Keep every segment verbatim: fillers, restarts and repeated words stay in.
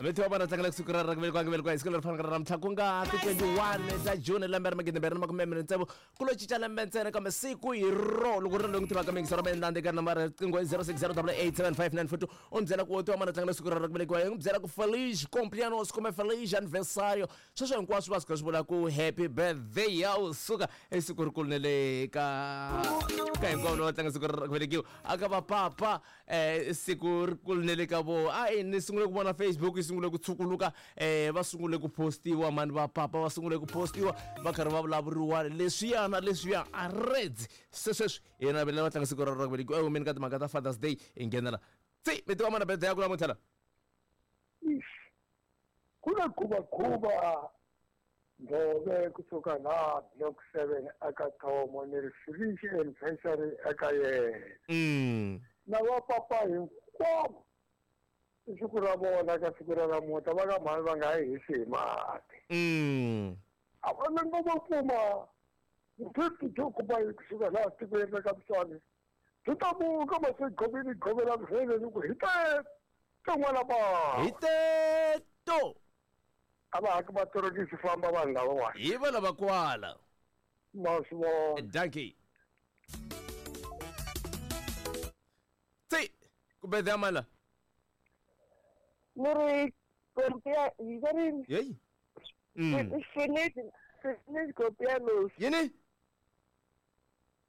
Vetiwa vana tlangela siku ra ra ku velekiwa velekiwa hi siku leri fanaka ra namuntlha ku nga ti twenty-one ta June lembe ra magidi mbirhi na makume mbirhi tsevu ku lo cinca lembe ntsena kambe siku hi ro loko ri loyi tivaka mingi sora mendande ka nambara riqingho zero six zero double eight seven five nine four two u ni byela ku tiwa mana tlangela siku ra ra ku velekiwa hi n'wi byela ku feliz cumpleaños kumbe feliz aniversario sweswo hinkwaswo va swi swi vula ku happy birthday ya u suka i siku rikulu na le ka ka hinkwavo lava tlanga siku ra ku velekiwa aka va papa eh siku rikulu na le ka vo a ni sungule ku vona Facebook yi sungule ku tshukuluka eh va sungule ku postiwa mani va papa va sungule ku postiwa va karhi va vulavuriwa leswiya na leswiya a reds se sweswi yena vele va tlanga siku ra ra ku velekiwa humeni ka timhaka ta Father's Day hi nghenela tsi mi tiva mana birthday ya ku namuntlha la ku na khuva ndove kusuka la block seven aka Thomo ni ri feliz anniversary eka yena mm na va papa hinkwavo i siku ra vona ka siku ra namuntlha va ka mhani va nga yi hisi hi mati mm a va na ngoma kuma fifty two kuma yi kusuka laha tikweni ra ka Mswane byi ta muka masegovini govela mheleni ku hi te n'wana ba hi teto a va haki matorokisi famba vanhu lavawani hi va lava kwala ma swi vona dankie tsi ku birthday ya mala ni ri compia hi va ri yeyi mm finish finish copianos yini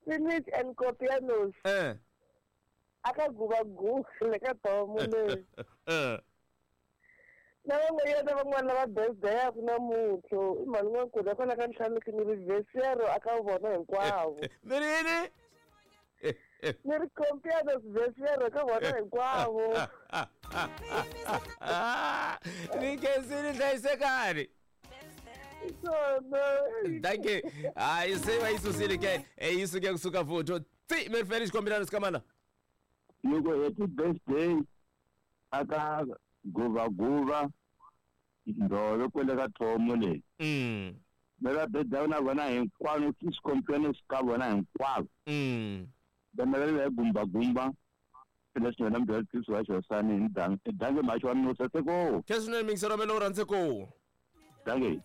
finish and copianos eh aka guva guva le ka Thomo le eh na van'wanyana van'wana lava birthday yaku namuntlha i mhani n'wankulu kwala ka ntlhanu ni ri vhesero aka vona hinkwavo mi ri yini ni ri compianos vhesero ka vona hinkwavo ni khensile hlayisekani swona dankie hayi se va yi susile ke yi suke kusuka futhi tsi mi ri feli xikombelano sikamana loko happy birthday aka guva guva ndove kwele ka Thomo le mm me va birthday na vona hinkwavo ki xikombelano ka vona hinkwavo mm vana va le gumba gumba leswi wena mbyela tisi wa xosani hi dange dange maxi wa nusa seko khensile mingisero melo u rhandze ku dange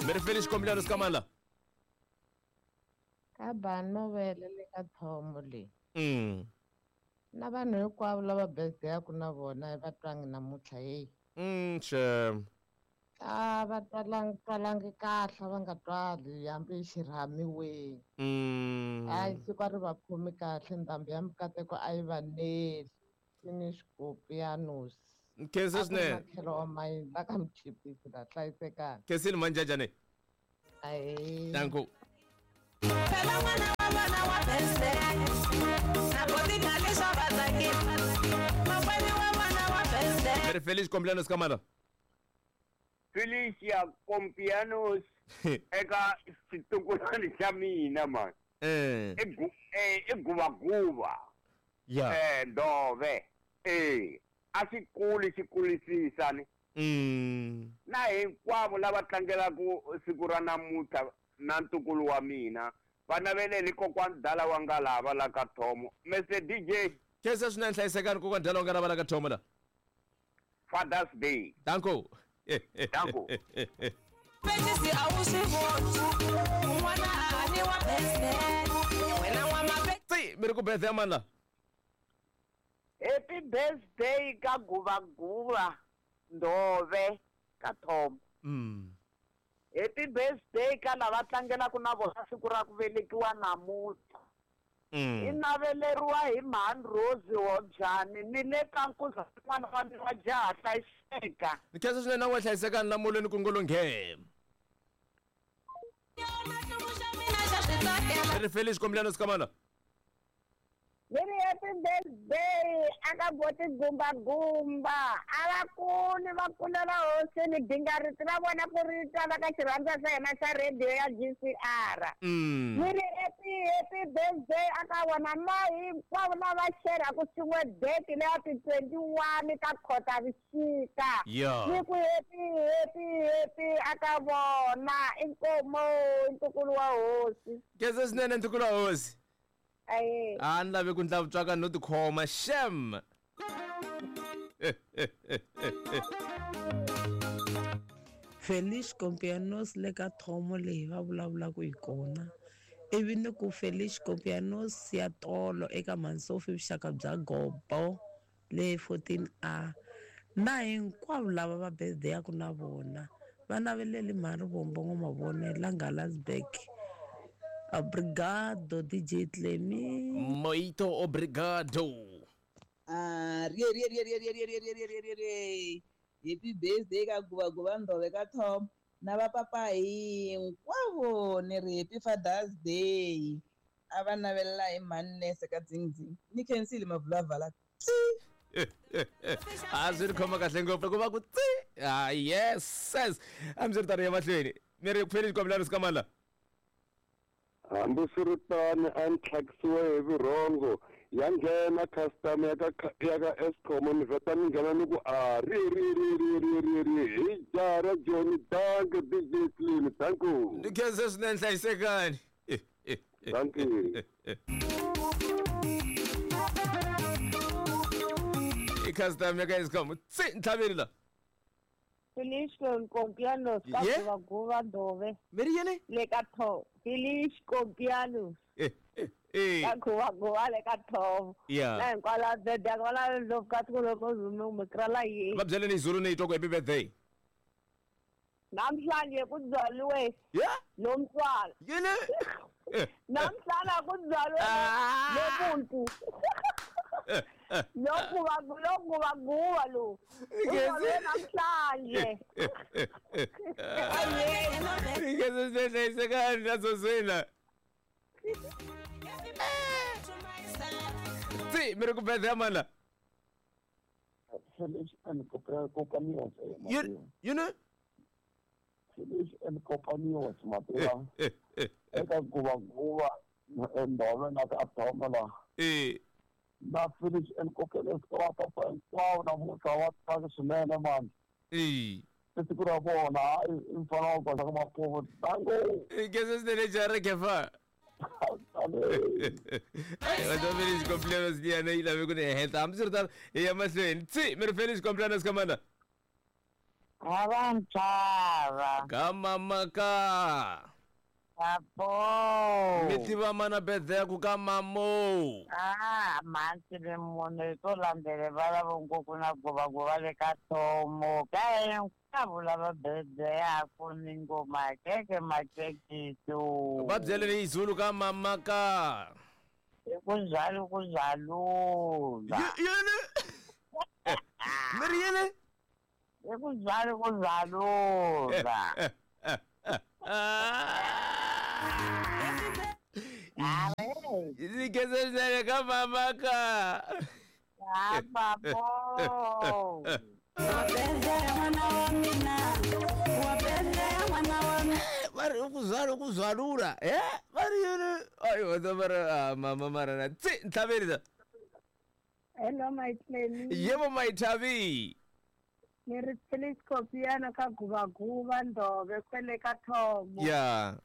mi ri feli xikombelano sikamala ka banovele le ka Thomo le mm na vanhu hinkwavo lava birthday yaku na vona va twangi namuntlha heyi mm xem a va twalangi twalangi kahle va nga twali hambi xirhamiweni mm hayi siku a ri va khomi kahle ndhambi ya mikateko a yi va neli finish copianos khensa swinene makhelo wa mayini la ka mchipisi la hlayisekani khensile manjajane ahe danko phela n'wana wa vana wa birthday na botikhali swa vatsakisa makwenu wa vana wa birthday mi ri feli xikombelano sikamala Felicia Compianos eka xitukulwana xa mina man eh i gu eh i guvaguva ya eh ndove eh a xi kuli xi kulisisa ni mm na hinkwavo lava tlangelaku siku ra namuntlha na ntukulu wa mina va naveleli kokwani dala wa nga lava la ka Thomo Mister D J khensa swinene hlayisekani kokwani dala wa nga lava la ka Thomo la Father's Day danko Danko. Pechisi a wu swi voni un'wana a haniwa birthday wena n'wamape tsi mi ri ku birthday ya mani la happy birthday ka guvaguva ndove ka Thomo mm happy birthday ka lava tlangelaku na vona siku ra ku velekiwa namuntlha i mm naveleriwa hi mhani Rose Hobyani ni le ka nkuza n'wana wa mina wa jaha hlayiseka ni khensa swinene na n'we hlayisekani lamulweni ku ngolonghe xa mina xa swi tsakela mi ri feli xikombelano sikamala ni ri happy birthday aka boti gumba gumba a va kuli va kulela hosini gingariti ra vona ku ri twala ka xirhandza xa hina xa radio ya G C R mm ni ri happy happy birthday aka vona na hinkwavo lava xeraku swin'we date leya ti twenty one ka Khotavuxika ya ni ku happy happy happy aka vona inkomo ntukulu wa hosi khensa swinene ntukulu wa hosi Aye. A ni lavi ku ndla vutswaka no tikhoma shem. Feliz cumpleaños le ka thomo leyi va vulavulaka hi kona ivi ni ku Feliz cumpleaños ya tolo eka Mansofi vuxaka bya gobo le fourteen A na hinkwavo lava va birthday yaku na vona va naveleli mhari vombo n'wamavone la Ngalasberg. Obrigado D J Clemi. Muito obrigado. Ah, rie rie rie rie rie rie rie rie rie rie rie. Happy birthday ka guva guva ndove ka Tom na va papa hinkwavo ni ri happy Father's Day. A va navelela hi mhani ka dzingdzing. Ni khensile mavulavala. A swi ri khoma kahle ngopfu ku va ku tsi. Ah yes. Hambiswiritano ya mahlweni. Mi ri Feliz cumpleaños ka mani la? Hambiswiritano a ni tlhakisiwe hi vurhongo ya nghena customer ya ka ya ka Eskom ni vheta ni nghena ni ku a ri ri ri ri ri ri ri hi jara Johnny danke D J Clean thank you. Ni khense swinene hlayisekani. Thank you. I customer ya ka Eskom tsi ntlhaveni la. Feliz cumpleaños ka guva guva ndove. Mi ri yini? Le ka tho. Feliz cumpleaños. Eh eh. Ka guva guva le ka tho. Yeah. Na hinkwala birthday kwala loko ka tiko loko mi krala yi. Va byeleni hi Zulu ni yi twa ku happy birthday. Namhlanje ku byaliwe. Yeah. Lo mntwana. Yini? Namhlanje ku byaliwe lo muntu. Lokhu lokhu baguwa lo. Uzalwe namhlanje. Ngeke sihlayisekani nazozwela. Tsi mi ri ku birthday ya mani la? Feliz and cumpleaños. You know? Feliz and cumpleaños mativa. Eka guva guva ndove na ka thoma la. Eh. Na Feliz and cumpleaños ka papa hinkwavo namuntlha wa tsaka swinene mani. Eh. I siku ra vona i mfana wa goza ka mapuvo tango. Ngeke swinene jara kefa. Ai va Feliz cumpleaños liyana yi lave ku ni heta. Hambiswiritano hi ya mahlweni. Tsi mi ri Feliz cumpleaños ka mani la? A va nchava. Ka mama ka. Apo. Mi tiva mana birthday ya ku ka mamo. Ah, mantsi le munhu hi to landzele va lava ngopfu na guvaguva le ka thomo ka hinkwavo lava birthday yaku ni ngo makeke makekiso. Va byeleni hi Zulu ka mama ka. I ku byali ku byalula. Yini? Mi ri yini? I ku byali ku byalula. Ni khense swinene ka mama ka. Ah, papo. Va ri ku byala ku byalula. Eh? Va ri yini? Ayi va va ri mama mara na tsi ntlhaveni la. Hello my Clemi. Yebo my Thabi. Ni ri Feliz cumpleaños ka guva guva ndove kwele ka thomo. Yeah.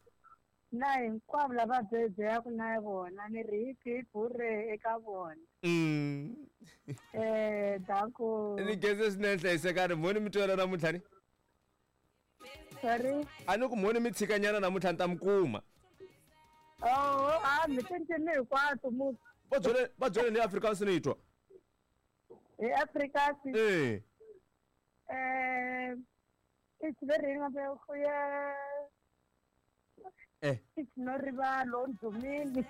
Na hinkwavo lava birthday yaku na vona ni ri hi hip hooray eka vona. Mm. Eh danko. Ni khense swinene hlayisekani mhoni mi twela namuntlha ni? Sorry. A ni ku mhoni mi tshikanyana namuntlha ni ta mi kuma. Oh, a mi cincile hinkwato mu. Va byele va byele ni Afrikaans ni yi twa. Hi Afrikaans. Eh. Eh it's very goeie. Eh. It's no rivalo ndumini.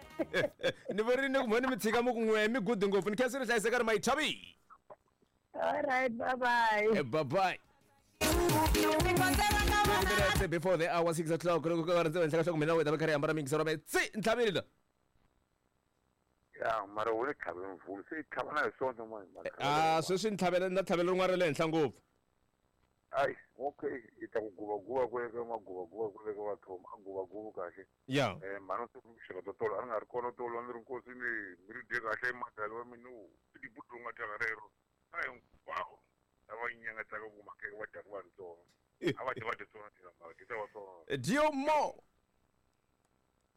Ni vorini ku mhoni mi tshika mi ku n'we mi good ngopfu ni khensile hlayisekani my Thabi. All right, bye bye. Eh, bye bye. Before the hour six o'clock loko ka ri ndzi henhla ka hloko mina wena va karhi hambana mingisa ra tsi ntlhaveni la. Ya mara u le tlhaveni mvulu se i tlhava na hi swona mani. Ah sweswi ni tlhavela na tlhavela rin'wana ra le henhla ngopfu. Ai okay i ta ku guva guva ku eka maguva guva ku eka vathoma a guva guva kahle. Ya. Eh mhani u xaka to tolo a ni nga ri kona tolo a ni ri nkosi ni mi ri dye kahle madala wa mina i tibuti u nga thyaka rero. Ai hinkwavo lava nyangatsaka ku makeke va dyaka vantsongo. A va dyi va dye swona thina mara dyi ta va swona. Dio mo.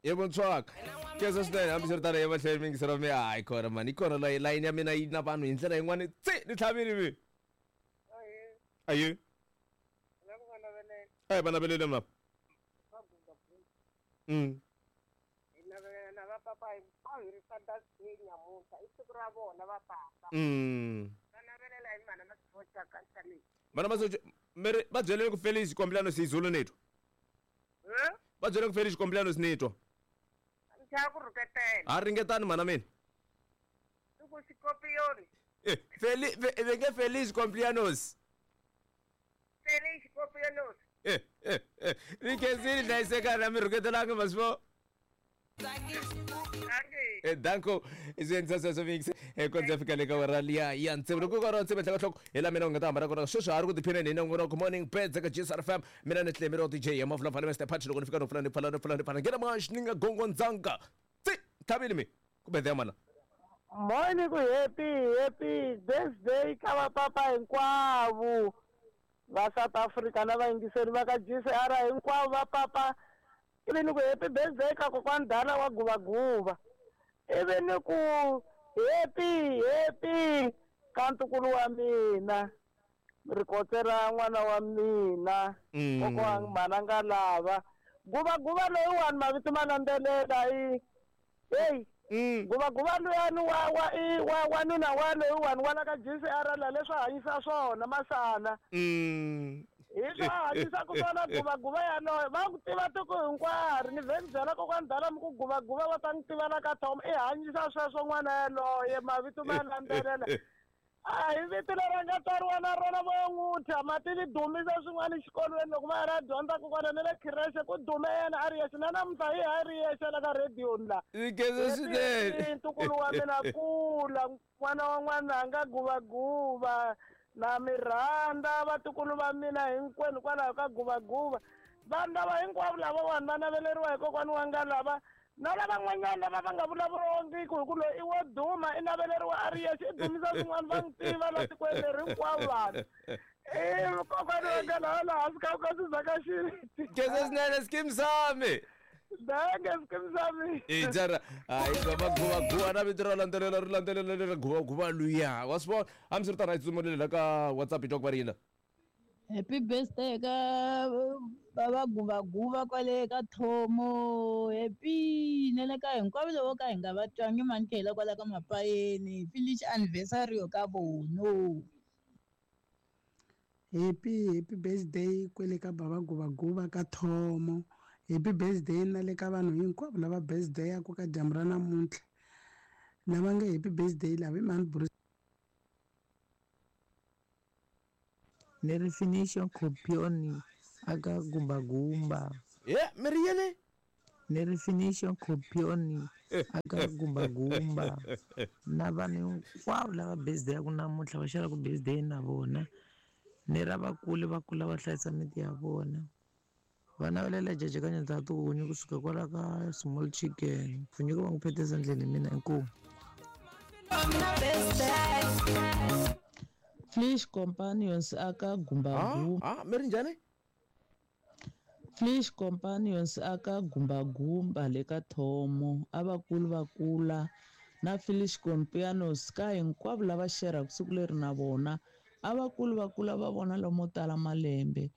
Hi vuntswaka kesa swinene hambiswiritano ya mahlweni mingiselo mi hayi kona mani yi kona layi layini ya mina yi na vanhu hi ndlela yin'wani tsi ni tlhavini mi ayi a hi va navelele mna mm mm vana masocha mere va byeleni ku Felix xikombelano siZulu ni twa va byeleni ku Felix xikombelano sinitwa a ringetani mana mina Felix ve nge Felix Complianos Felix Complianos eh eh eh ni khensini hlayisekani a mi rhuketelanga maswo Eh danko izenza sweswo mix eh kondza fika le ka wera liya ya ntsevu loko ku ri ntsevu tlhaka hloko hi la mina u nga ta hambana kona sweswi ha ri ku tiphineni hi nongonoko morning beds eka G S R F M mina ni Tlemiro D J ya Mavula Mfana Mister Patch loko ni fika no pfula ni pfala ni pfula ni pfala ngena mash ni nga gongondzanga tsi thavini mi kumbe the mana Morning ku happy happy birthday ka vapapa hinkwavo va South Africa na vayingiseri va ka G S R hinkwavo va papa ivi ni ku happy birthday ka kokwani Dala wa Guvaguva ivi ni ku happy happy ka ntukulu wa mina rikotse ra n'wana wa mina kokwani mananga lava Guvaguva loyiwani mavito ma landzelela i hey Guvaguva luyani wa wa i wa wanuna wa loyiwani wa la ka G C R la leswi hanyisa swona masana hi swa hanyisa ku swona Guvaguva yaloye va ku tiva tiko hinkwaro ni vhe ni byela kokwani Dala mi ku Guvaguva va ta ni tiva la ka Tom i hanyisa sweswo n'wana yaloye mavito ma landzelela a hi vito leri a nga tswariwa na rona vo n'wi thya mativi dumisa swin'wana exikolweni loko va ya ra dyondza kokwana na le khirexe ku dume yena a ri yexe na namuntlha hi ha ri yexe la ka rediyo la swinene ntukulu wa mina kula n'wana wa n'wananga Guvaguva na mi rhandza vatukulu va mina hinkwenu kwalaho ka Guvaguva vanhu lava hinkwavo lavawani va naveleriwa hi kokwani wa nga lava na lavan'wanyana lava va nga vulavuriwangiki hi ku loyi i wo duma i naveleriwa a ri yexe i dumisa swin'wana va n'wi tiva la tikweni leri hinkwavo vanhu i kokwani wa nga laha laha hansi ka ka Sizaka Xiviti kesa swinene skim sami dange skim sami i jara hayi Guvaguva na vito ra landzelela ri landzelela leri Guvaguva luya wa swi vona hambiswiritano a hi tsutsumeli la ka WhatsApp hi twa ku va ri yini Happy birthday ka baba Guvaguva kwale ka Thomo happy na le ka hinkwavo lavo ka hi nga va twangi mani khela kwala ka Mapayeni finish anniversary yo ka vono Happy happy birthday kwele ka baba Guvaguva ka Thomo happy birthday na le ka vanhu hinkwavo lava birthday ya ku ka dyambu ra namuntlha lava nga happy birthday lava i mani Bruce Ni ri finisho khopioni aka Gumbagumba ye mi ri yini ni ri finisho khopioni aka Gumbagumba na vanhu hinkwavo lava birthday ya ku namuntlha va xelaku birthday na vona ni ra vakulu va kula va hlayisa miti ya vona va navelela jejekanya ta tihunyi kusuka kwala ka small chicken pfunyuka va n'wi phetisa ndleni mina inkomu Flesh Companions aka Gumbagumba ah mi ri njhani Flesh Companions aka Gumbagumba le ka Thomo a vakulu va kula na Flesh Companions ka hinkwavo lava xeraka siku leri na vona a vakulu va kula va vona lomo tala malembe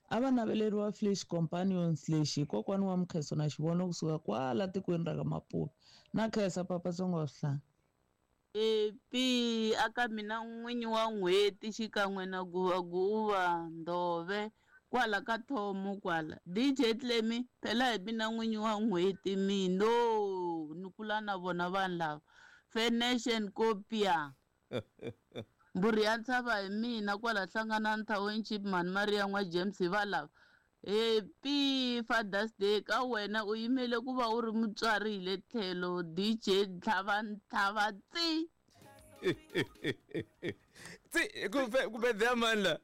a va naveleriwa Flesh Companions lexi hi kokwani wa Mkheso na xivono kusuka kwala tikweni ra ka Maputo na khensa papa Tsongo wa swihlanga Happy aka mina n'winyi wa n'hweti xikan'we na Guvaguva Ndove kwala ka Thomo kwala D J Tlemi phela hi mina n'winyi wa n'hweti mino ni kula na vona vanhu lava Fenation Kopia mburi ya ntshava hi mina kwala Hlanganani Township mani Maria n'wa James hi va lava Happy Father's Day ka wena u yimele ku va u ri mutswari hi le tlhelo D J Ntlhava Ntlhava tsi tsi ku ku birthday mani la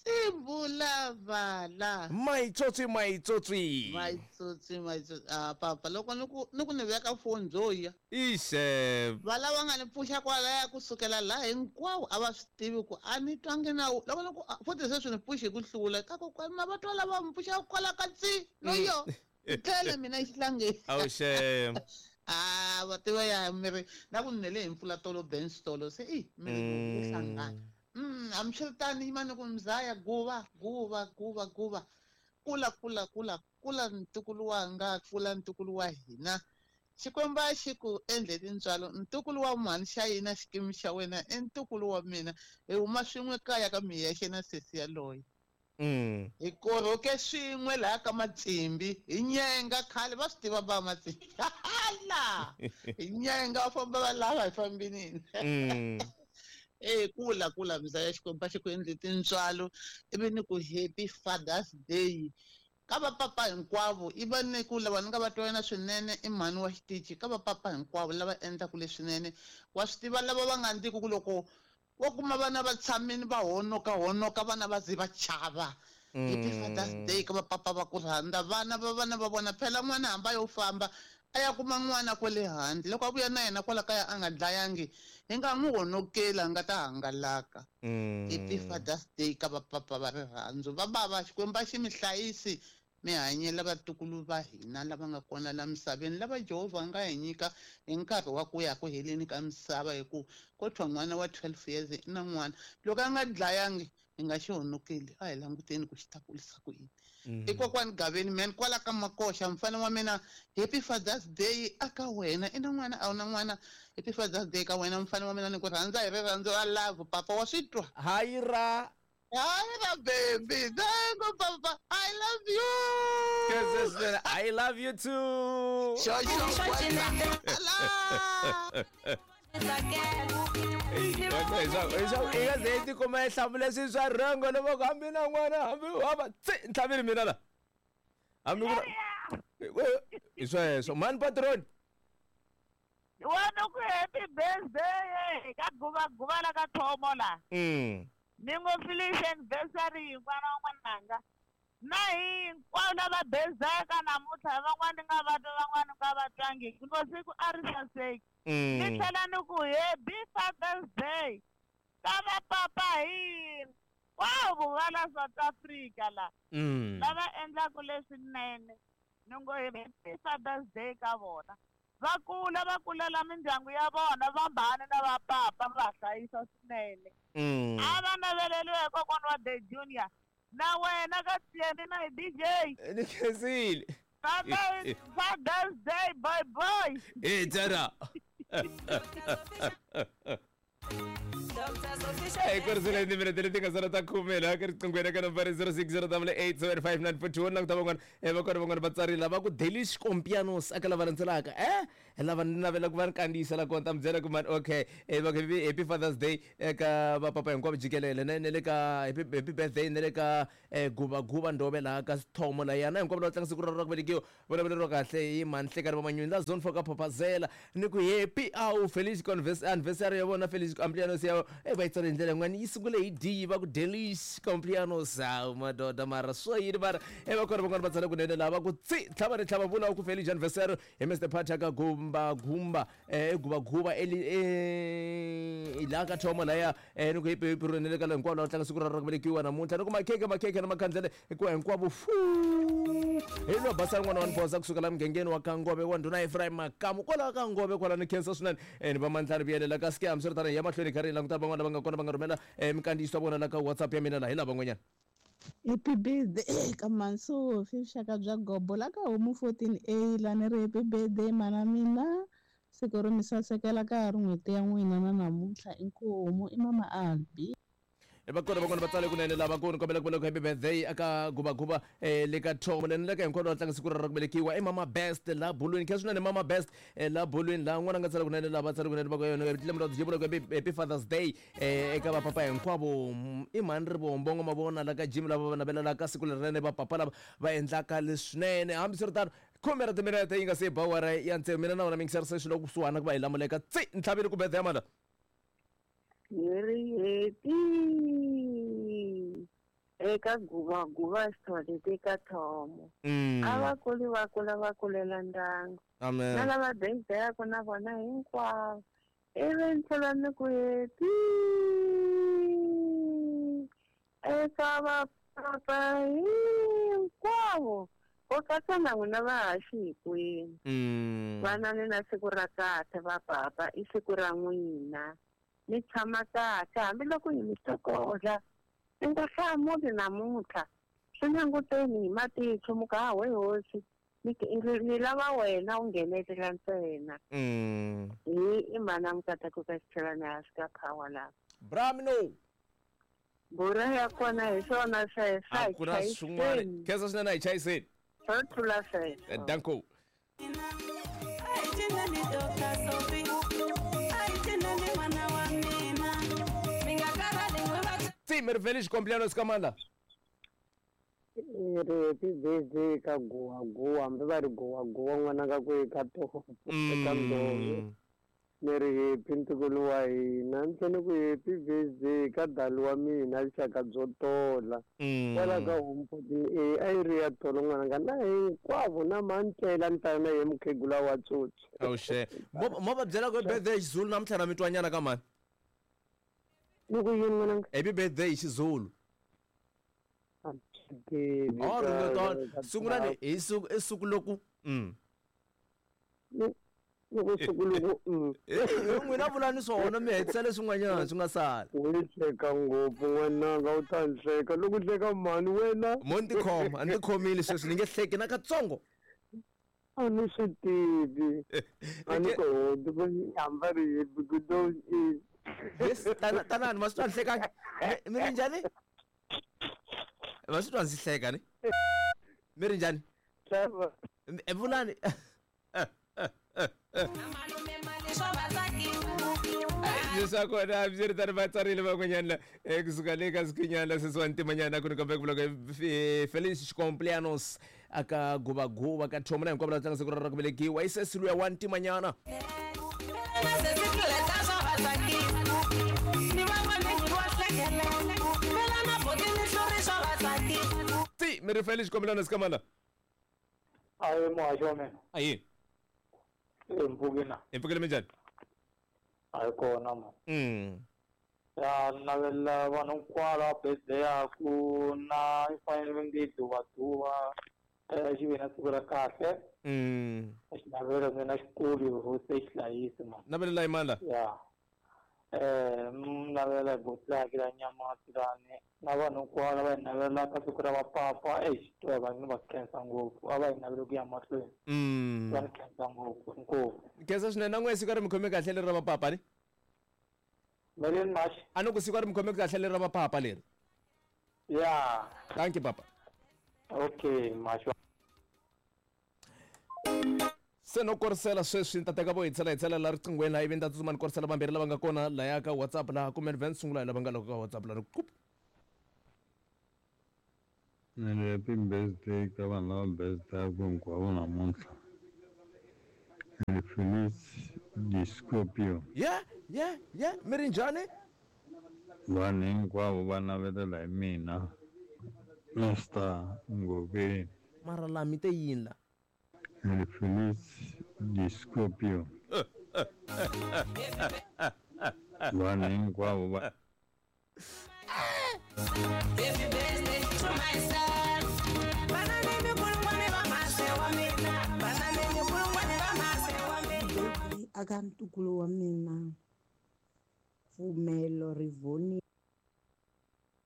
Sivulavala maitsotsi maitsotsi maitsotsi maitsotsi ah papa loko ni ku ni ku ni veka foni byo ya ixe va lava nga ni pfuxa kwalaya kusukela laha hinkwawo a va swi tivi ku a ni twangi na loko ni ku futhi se swi ni pfuxi hi ku hlula ka kokwani ma va twa lava mi pfuxa kwala ka tsi loyo Tlele mina xihlangeni. Awu shame. Ah, va tiva ya miri na ku nele hi mpfula tolo bench tolo se i miri ku hlangana. Mm, hambiswiritano yimani ku mzaya guva guva guva guva kula kula kula kula ntukulu wanga kula ntukulu wa hina. Xikwembu a xi ku endle tintswalo ntukulu wa mhani xa yina xikimi xa wena i ntukulu wa mina hi huma swin'we kaya ka miyexe na sesi yaloye. Mm. Hi korhoke swin'we laha ka Matsimbi hi nyenga khale va swi tiva va Matsimbi hala hi nyenga va famba va lava hi fambinini. Mm. Eh kula kula mzaya Xikwembu a xi ku endle tintswalo ivi ni ku happy Father's Day ka vapapa hinkwavo i va ni ku lava ni nga va twa wena swinene i mhani wa xitichi ka vapapa hinkwavo lava endlaku leswinene wa swi tiva lava va nga ndliku ku loko wo kuma vana va tshamini va honoka honoka vana va ze va chava. Happy Father's Day ka vapapa va ku rhandza vana va vana va vona phela n'wana hamba yo famba a ya kuma n'wana kwale handle loko a vuya na yena kwala kaya a nga dlayangi hi nga n'wi honokeli a nga ta hangalaka. Happy Father's Day ka vapapa va rirhandzu va bava Xikwembu a xi mi hlayisi mi hanyela vatukulu va hina lava nga kona la misaveni lava Jehovha a nga hi nyika hi nkarhi wa ku ya ku heleni ka misava hi ku ko thwa n'wana wa twelve years i na n'wana loko a nga dlayangi hi nga xi honokeli a hi languteni ku xi ta kulisa ku yini. I kokwani Gaveni man kwala ka Makoxa mfana wa mina happy Father's Day aka wena i na n'wana a wu na n'wana happy Father's Day ka wena mfana wa mina ni ku rhandza hi rirhandzu ra love papa wa swi twa. Hayi ra Hayi ra baby thank you papa I love you. Yes, I love you too. Sure, sure. I nga ze tikuma yi hlamule swilo swa rhongo loko hambi na n'wana hambi hava tsi ntlhavile mina la hambi ku hi sweswo mani patron wena ku happy birthday ka guva guva la ka Thomo la. Mm. Ni ngo felice anniversary n'wana wa n'wananga na hinkwavo lava bezaka namuntlha van'wani nga va twa van'wani nga va twangi ngo siku a ri saseki. Ni tlhela ni ku happy Father's Day ka vapapa hinkwavo va la South Africa la lava endlaku leswinene ni ngo happy Father's Day ka vona va kula va kulela mindyangu ya vona va mbhani na vapapa va hlayisa swinene. A va naveleliwe hi kokwana wa The Junior na wena ka Tieni na hi D J ni khensile. Father's Father's Day boy boy. Eh tara. Hey, kurisile timinete leti nga sala ta khume laha ka riqingweni ka nambara zero six zero double eight seven five nine four two languta van'wana va kona van'wana va tsarile va ku Delish Compianos aka lava landzelaka eh lava ni navela ku va ni kandziyisa la kona ta mi byela ku mani okay eh va happy Father's Day eka vapapa hinkwavo jikelele na ne le ka happy happy birthday ne le ka guva guva Ndove laha ka Thomo la yana hinkwavo lava tlanga siku ra ra ku velekiwa vulavuleriwa kahle hi mani Hlekani va Manyuni la zone four ka Phaphazela ni ku happy au Felice anniversary ya vona Felice Compianos ya eh va yi tsale hi ndlela yin'wana yi sungule hi D va ku Delish Compianos hawu madoda mara swo yini mara e va kona van'wana va tsale kunene lava ku tsi tlhava ni tlhava vula ku Felice anniversary hi Mister Patrick Gumba Gumba eh Guba Guba eli eh la ka Thomo laya eh ni ku hipi hipi ro ne le ka hinkwavo lava tlanga siku ra ra ku velekiwa namuntlha ni ku makheke makheke na makhandlele hikuva hinkwavo fu hi lo basa n'wana wa Nphosa kusuka la mugangeni wa Kangove wa ndhuna Ephraim Makamu kwalaho ka Ngove kwala ni khensa swinene ni va mandlani vuyelela ka scam swi ri tani ya mahlweni kha ri languta van'wana lava nga kona va nga rhumela minkandziyiso ya vona la ka WhatsApp ya mina laha hi lava van'wanyana. Happy birthday ka Mansofi vuxaka bya gobo la ka homu fourteen A la ni ri happy birthday mana mina siku ro mi sasekela ka ha ri n'hweti ya n'wina na namuntlha inkomu i mama Albi. Va kona van'wana va tsale kunene lava ku ni kombela ku vula ku happy birthday aka guva guva eh le ka Thomo le le ka hinkwavo lava tlanga siku ra ra ku velekiwa i mama Best la Bulwini kha swinene mama Best la Bulwini la n'wana nga tsala kunene lava tsale kunene va ku yona lembe ra jibula ku happy Father's Day eh eka vapapa hinkwavo i mhani ri vombongo mavona la ka Jim lava va navelelaka siku lerinene vapapa lava va endlaka leswinene hambiswiritano khume ra timinete yi nga se ba awara ya tsevu mina na wena mingisarisa xilo kusuhana ku va hi lamuleka tsi ntlhavile ku birthday ya mala Hi happy eka guva guva xitholete ka Thomo. A va kuli va kula va kulela ndyangu. Amen. Na lava birthday na vona hinkwavo. Ivi ni tlhela ni ku happy eka vapapa hinkwavo U katsa na n'wina vahaxi hinkwenu. Vanani na siku ra kahle va papa, i siku ra n'wina. Mi tshama kahle hambiloko hi mi tokola. Mi nga hlamuli namuntlha. Swi languteni hi matihlo mi ku ha we hosi. Ni lava wena u nghenelela ntsena. Hi i mhana Mukateko ka xichelana hansi ka power lava. Bramino. Bura ya kona hi swona sweswo. A ku na swin'wana. Khensa swinene a hi chayiseni. Swo tlula sweswo. Danko. Ti mi ri Felice Compleannos ka mani la? Ri happy birthday ka Guwaguwa, hambi va ri Guwaguwa n'wananga ku eka toho eka Ndove. Ni ri happy ntukulu wa hina, ni tlhela ni ku happy birthday ka dali wa mina vuxaka byo tola. Kwala ka Homeport e a yi ri ya tolo n'wananga na hinkwavo na mantlela ni ta na ye mukhegula wa tsotsi. Awuxe. Mo va byela ku birthday hi Xizulu namuntlha na mi twanyana ka mani? Ni ku yini n'wananga? Happy birthday hi Xizulu. Oh, ringo sungulani hi siku i siku loku mm. Loko siku loko mm. N'wina vulani swona mi hetisa leswin'wanyana swi nga sala. U hleka ngopfu n'wananga, u ta ni hleka loko hleka mhani wena. Mo ni tikhoma, a ni tikhomile sweswi ni nge hleki na katsongo. A ni swi tivi. A ni koti ku hamba ri happy ku do i. Yes, tana tanani ma swi twa ni hlekanga. Mi ri njhani? Va swi twa ndzi hleka ni? Mi ri njhani? Vulani. Leswaku na swi ri tani va tsarile van'wanyana la kusuka le ka sikinyana la sesi wa ntimanyana ku ni kombe ku vula ku Felice Compleannos aka Guvaguva ka Thomo na hinkwavo lava tlanga siku ra ku velekiwa i sesi luya wa ntimanyana. Ti mi ri Felice Compleannos ka mani la? Ayi muhaxi wa mina. Ayi. Mpfukina. Hi mpfukile minjhani? A yi kona ma. Mm. Ya navela vanhu hinkwavo lava birthday yaku na yi fanele va nge duvaduva xi ve na siku ra kahle. Mm. Xi navela mina xikulu hosi xi hlayisi ma. Navelela hi mani la? Ya. Eh navela hi botlaki la nyamati lani na vanhu hinkwavo lava hi navelaka siku ra vapapa exi va ni va khensa ngopfu a va hi navele ku ya mahlweni. Mm. Va ni khensa ngopfu inkomu. Khensa swinene na n'we siku ri mi khome kahle leri ra vapapa ni? Meleni Mashi. A ni ku siku ri mi khome kahle leri ra vapapa leri. Ya. Thank you papa. Okay Mashi. Se no korisela sweswi ni ta teka vo hitsela hitsela la riqinghweni laha ivi ni ta tsutsuma ni korisela vambirhi lava nga kona laya ka WhatsApp laha kumbe ni vhe ni sungula hi lava nga loko ka WhatsApp laha ni Ni ri happy birthday ka vanhu lava birthday-aku hinkwavo namuntlha. Ni ri Felice di Scorpio. Yeah, yeah, yeah. Mi ri njhani? Vanhu hinkwavo va navelela hi mina Mister Ngoveni. Mara la mi te yini la? Ni ri Felice di Scorpio. Vanhu hinkwavo va Happy birthday to myself. Aka ntukulu wa mina Pfumelo Rivoni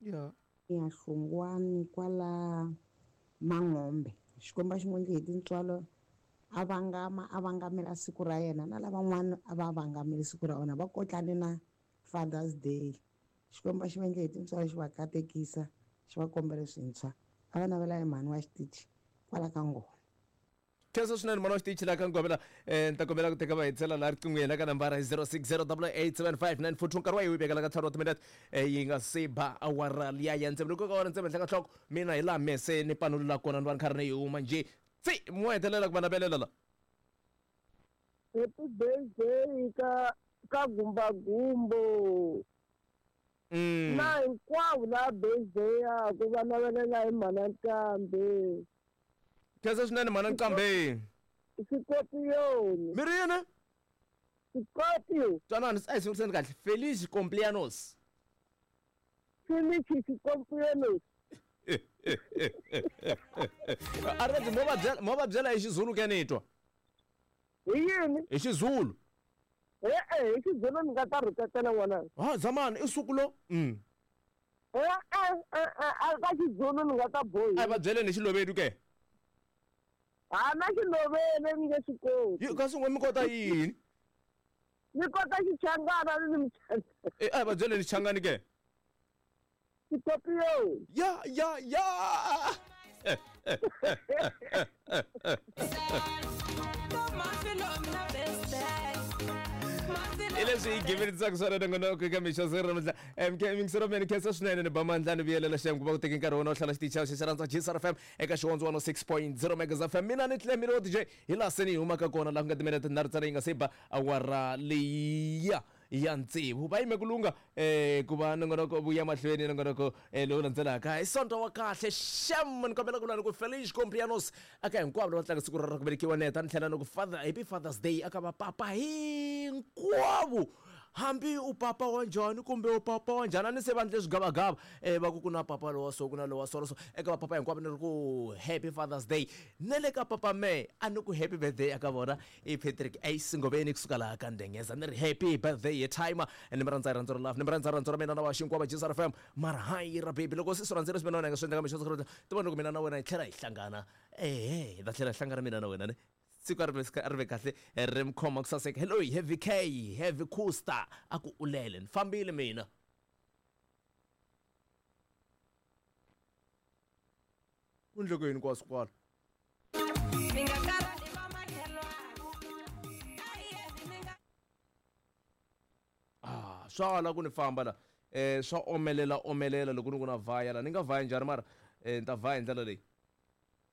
ya ya Hlongwani kwala Mangombe. Xikwembu xi n'wi endle hi tintswalo a vangama a vangamela siku ra yena na lavan'wana a va vangamele siku ra vona va kotlane na Father's Day. Xikwembu xi va endle hi tintswalo xi va katekisa xi va kombela swintshwa a va navela hi mhani wa xitichi kwala ka Ngoma. Khensa swinene mhani wa xitichi laha ka Ngoma la ni ta kombela ku teka va hitsela laha riqinghweni la ka nambara hi zero six zero double eight seven five nine four two nkarhi wa yi vekela ka ntlhanu wa timinete yi nga se ba awara liya ya ntsevu loko ka awara ntsevu henhla ka nhloko mina hi laha mese ni panulula kona ni va ni karhi ni yi huma njhe tsi mo hetelela ku va navelela la. Happy birthday ka ka Gumbagumbo. Mm. Na hinkwavo lava birthday yaku va navelela hi mhana Nqambi. Khensa swinene mhana Nqambi. Scorpion. Mi ri yini? Scorpio. Twanani a hi sunguriseni kahle. Felice Compleannos. Felice Compleannos. A ri mo va byela mo va byela hi Xizulu ke ni twa. Hi yini? Hi Xizulu. E-e hi Xizulu ni nga ta rhuketela n'wana. Ha zamani i suku lo. Mm. E-e a ka Xizulu ni nga ta bohi. A va byeleni hi Xilovedu ke. Ha na Xiloveni ni nge swi koti. Yi kasi n'we mi kota yini? Ni kota Xichangana ni ni E a va byeleni Xichangani ke. Xikopiyo. Ya ya ya. Ileswi hi giverisaka swona nongonoko eka mixo siku ra namuntlha M K mingisero mene khensa swinene ni ba mandla ni vuyelela xem ku va ku teki nkarhi wona wo hlala xitichi xa xirhandza G S R F M eka xihondzo one oh six point zero Megas F M. Mina ni Clemile wa D J hi laha se ni humaka kona laha ku nga timinete tinharhu ntsena yi nga se ba awara leyiya ya tsevu. Va yime ku lungha eh ku va nongonoko vuya mahlweni nongonoko lowu landzelaka i Sonto wa kahle xem. Ni kombela ku vula ni ku Feliz Cumpleaños aka hinkwavo lava tlanga siku ra ku velekiwa neta ni tlhela ni ku Father Happy Father's Day aka vapapa hinkwavo. Hambi u papa wa njhani kumbe u papa wa njhani a ni se va ndle swigavagava eh va ku ku na papa lowa so ku na lowa so so eka vapapa hinkwavo ni ri ku Happy Father's Day. Na le ka papa me a ni ku happy birthday aka vona i Patrick Ace Ngoveni kusuka laha ka Ndengeza ni ri happy birthday hi timer ni mi rhandza rhandza ra love ni mi rhandza rhandza ra mina na va xinkwava G S R F M mara hayi ra baby loko se swi rhandzile swi mina na wena nga swi endla ka mixo siku ti vona loko mina na wena hi tlhela hi hlangana ehe hi ta tlhela hi hlangana mina na wena ne siku a ri ve a ri ve kahle ri mi khoma ku saseka. Hello Heavy K Heavy Coaster a ku ulele ni fambile mina. Ku ndleke yini kwaswo kwala? Ah swa ala ku ni famba la eh swa omelela omelela loko ni ku na vhaya la ni nga vhaya njhani mara eh ni ta vhaya hi ndlela leyi.